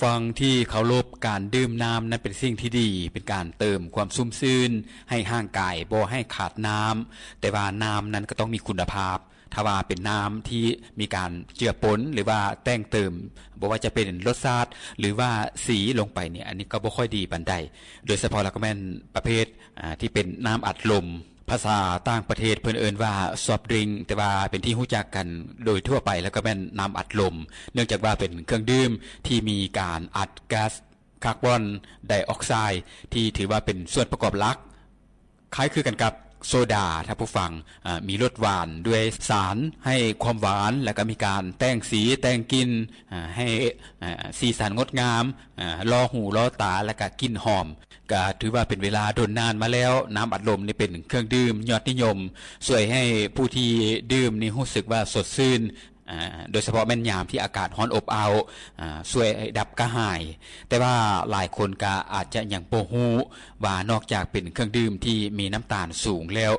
ຟັງທີ່ເຄົາລົບ, ການດື່ມນ້ຳນັ້ນເປັນສິ່ງທີ່ດີ, ເປັນການເຕີມຄວາມຊຸ່ມຊື່ນໃຫ້ຮ່າງກາຍ, ບໍ່ໃຫ້ຂາດນ້ຳ, ແຕ່ວ່ານ້ຳນັ້ນກໍຕ້ອງມີຄຸນນະພາບ. ຖ້າວ່າເປັນນ້ຳທີ່ມີການເຈືອປົນ ຫຼືວ່າແຕ່ງເຕີມ, ບໍ່ວ່າຈະເປັນລົດຊາດ ຫຼືວ່າສີລົງໄປນີ້, ອັນນີ້ກໍບໍ່ຄ່ອຍດີປານໃດ. ໂດຍສະເພາະແລ້ວກໍແມ່ນປະເພດ ອ່າ ທີ່ເປັນນ້ຳອັດລົມ. ພາສາຕ່າງປະເທດເພິ່ນເອີ້ນວ່າ soft drink, ແຕ່ວ່າເປັນທີ່ຮູ້ຈັກກັນໂດຍທົ່ວໄປແລ້ວກໍແມ່ນນ້ຳອັດລົມ, ເນື່ອງຈາກວ່າເປັນເຄື່ອງດື່ມທີ່ມີການອັດແກັສຄາບອນໄດອອກໄຊ ທີ່ຖືວ່າເປັນສ່ວນປະກອບຫຼັກ. ຄ້າຍຄືກັນກັບໂຊດາ, ທ່ານຜູ້ຟັງ, ອາ, ມີລົດຫວານດ້ວຍສານໃຫ້ຄວາມຫວານ, ແລ້ວກໍມີການແຕ່ງສີແຕ່ງກິ່ນ, ອາ, ໃຫ້, ອາ, ສີສັນງົດງາມ, ອາ, ຫຼໍ່ຫູຫຼໍ່ຕາ, ແລ້ວກໍກິ່ນຫອມ. ກະຖືວ່າເປັນເວລາດົນນານມາແລ້ວ, ນ້ຳອັດລົມນີ້ເປັນເຄື່ອງດື່ມຍອດນິຍົມ, ຊ່ວຍໃຫ້ຜູ້ທີ່ດື່ມນີ້ຮູ້ສຶກວ່າສົດຊື່ນ, ອາ, ໂດຍສະເພາະແມ່ນຍາມທີ່ອາກາດຮ້ອນອົບອ້າວ, ອາ, ຊ່ວຍດັບກະຫາຍ. ແຕ່ວ່າຫຼາຍຄົນກະອາດຈະຍັງບໍ່ຮູ້ວ່ານອກຈາກເປັນເຄື່ອງດື່ມທີ່ມີນ້ຳຕານສູງແລ້ວ,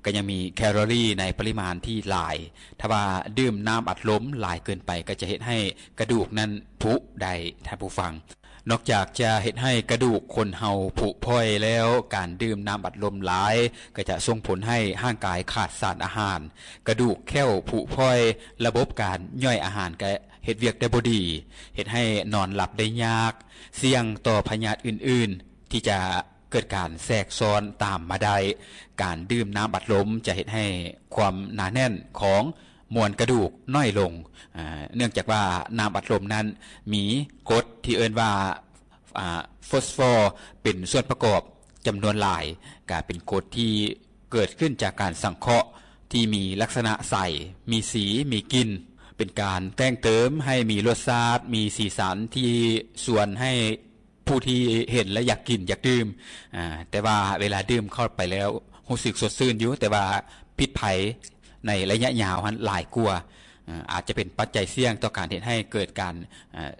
ກໍຍັງມີແຄລໍຣີໃນປະລິມານທີ່ຫຼາຍ. ຖ້າວ່າດື່ມນ້ຳອັດລົມຫຼາຍເກີນໄປ, ກໍຈະເຮັດໃຫ້ກະດູກນັ້ນຜຸໄດ້, ທ່ານຜູ້ຟັງ. ນອກຈາກຈະເຮັດໃຫ້ກະດູກຄົນເຮົາຜຸຜ່ອຍແລ້ວ, ການດື່ມນ້ຳອັດລົມຫຼາຍກໍຈະສົ່ງຜົນໃຫ້ຮ່າງກາຍຂາດສານອາຫານ, ກະດູກແຂ້ວຜຸຜ່ອຍ, ລະບົບການຍ່ອຍອາຫານກໍເຮັດວຽກໄດ້ບໍ່ດີ, ເຮັດໃຫ້ນອນຫຼັບໄດ້ຍາກ, ສ່ຽງຕໍ່ພະຍາດອື່ນໆທີ່ຈະເກີດການແຊກຊ້ອນຕາມມາໄດ້. ການດື່ມນ້ຳອັດລົມຈະເຮັດໃຫ້ຄວາມໜາແໜ້ນຂອງ ມວນກະດູກນ້ອຍລົງ, ອາ, ເນື່ອງຈາກວ່ານ້ຳອັດລົມນັ້ນມີກົດທີ່ເອີ້ນວ່າ, ອາ, ຟອສຟໍເປັນສ່ວນປະກອບຈຳນວນຫຼາຍ, ກະເປັນກົດທີ່ເກີດຂຶ້ນຈາກການສັງເຄາະທີ່ມີລັກສະນະໃສ, ມີສີ, ມີກິ່ນ, ເປັນການແຕ່ງເຕີມໃຫ້ມີລົດຊາດ, ມີສີສັນທີ່ຊວນໃຫ້ ຜູ້ທີ່ເຫັນແລ້ວຢາກກິນຢາກດື່ມ, ອາ, ແຕ່ວ່າເວລາດື່ມເຂົ້າໄປແລ້ວຮູ້ສຶກສົດຊື່ນຢູ່, ແຕ່ວ່າພິດໄພໃນໄລຍະຍາວຫັ້ນຫຼາຍກວ່າ, ອາ, ອາດຈະເປັນປັດໄຈສ່ຽງຕໍ່ການເຮັດໃຫ້ເກີດການ, ອາ,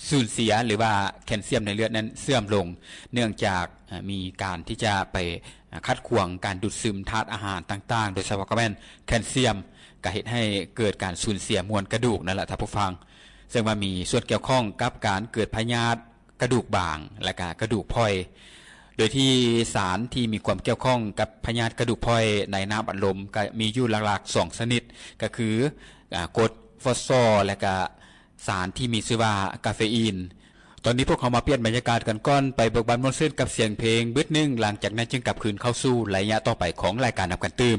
ສູນເສຍ ຫຼືວ່າແຄນຊຽມໃນເລືອດນັ້ນເສື່ອມລົງ, ເນື່ອງຈາກ, ອາ, ມີການທີ່ຈະໄປ, ອາ, ຂັດຂວາງການດູດຊຶມທາດອາຫານຕ່າງໆ, ໂດຍສະເພາະກໍແມ່ນແຄນຊຽມ, ກໍເຮັດໃຫ້ເກີດການສູນເສຍມວນກະດູກນັ້ນລະ ທ່ານຜູ້ຟັງ, ເຊິ່ງວ່າມີສ່ວນກ່ຽວຂ້ອງກັບການເກີດພະຍາດ ກະດູກບາງ ແລະກະກະດູກຜ່ອຍ, ໂດຍທີ່ສານທີ່ມີຄວາມກ່ຽວຂ້ອງກັບພະຍາດກະດູກຜ່ອຍໃນນ້ຳອັດລົມກະມີຢູ່ຫຼັກໆສອງຊະນິດ, ກະຄື, ອາ, ກົດຟອສຟໍ ແລະກະສານທີ່ມີຊື່ວ່າກາເຟອີນ. ຕອນນີ້ພວກເຮົາມາປ່ຽນບັນຍາກາດກັນກ່ອນ, ໄປເບີກບານມ່ວນຊື່ນກັບສຽງເພງບຶດໜຶ່ງ, ຫຼັງຈາກນັ້ນຈຶ່ງກັບຄືນເຂົ້າສູ່ໄລຍະຕໍ່ໄປຂອງລາຍການນຳກັນຕື່ມ.